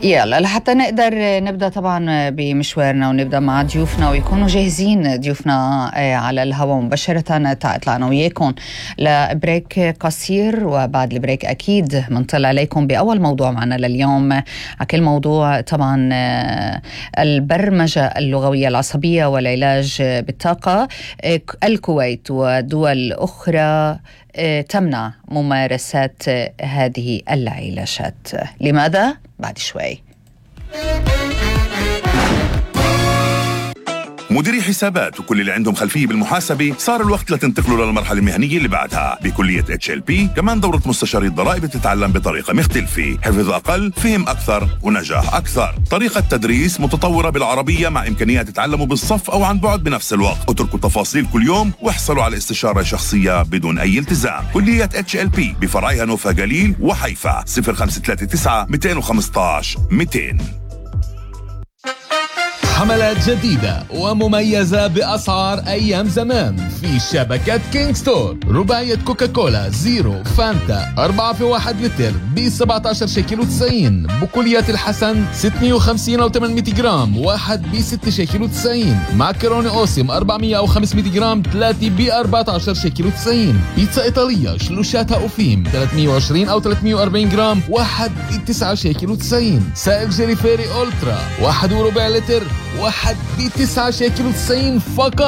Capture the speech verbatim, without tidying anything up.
يلا لحتى نقدر نبدأ طبعا بمشوارنا ونبدأ مع ضيوفنا ويكونوا جاهزين ضيوفنا على الهواء مباشرة. طلعنا وياكم لبريك قصير، وبعد البريك أكيد منطلع عليكم بأول موضوع معنا لليوم. كل موضوع طبعا البرمجة اللغوية العصبية والعلاج بالطاقة. الكويت ودول أخرى تمنع ممارسة هذه العلاجات، لماذا؟ بعد شوي. مديري حسابات وكل اللي عندهم خلفية بالمحاسبة صار الوقت لتنتقلوا للمرحلة المهنية اللي بعدها بكلية اتش ال بي. كمان دورة مستشاري الضرائب بتتعلم بطريقة مختلفة، حفظ أقل فهم أكثر ونجاح أكثر. طريقة تدريس متطورة بالعربية مع إمكانيات تتعلموا بالصف أو عن بعد بنفس الوقت. اتركوا التفاصيل كل يوم واحصلوا على استشارة شخصية بدون أي التزام. كلية اتش ال بي بفرعيها نوفا جليل وحيفا. صفر خمسة ثلاثة تسعة مئتين وخمسة عشر مئتين. حملات جديدة ومميزة بأسعار أيام زمان في شبكة كينج ستور. رباعية كوكاكولا زيرو فانتا أربعة في واحد لتر ب سبعة عشر شيكل وتسعين. بقوليات الحسن ستمئة وخمسين أو ثمانمئة جرام واحد ب ستة شيكل وتسعين. معكروني أوسم أربعمئة أو خمسمئة جرام ثلاثة ب أربعة عشر شيكل وتسعين. بيتزا إيطالية شلوشاتها أوفيم ثلاثمئة وعشرين أو ثلاثمئة وأربعين جرام واحد ب تسعة شيكل وتسعين. سائل جيري فيري أولترا واحد وربع لتر واحد بتسعة شيكل وتسعين فقط.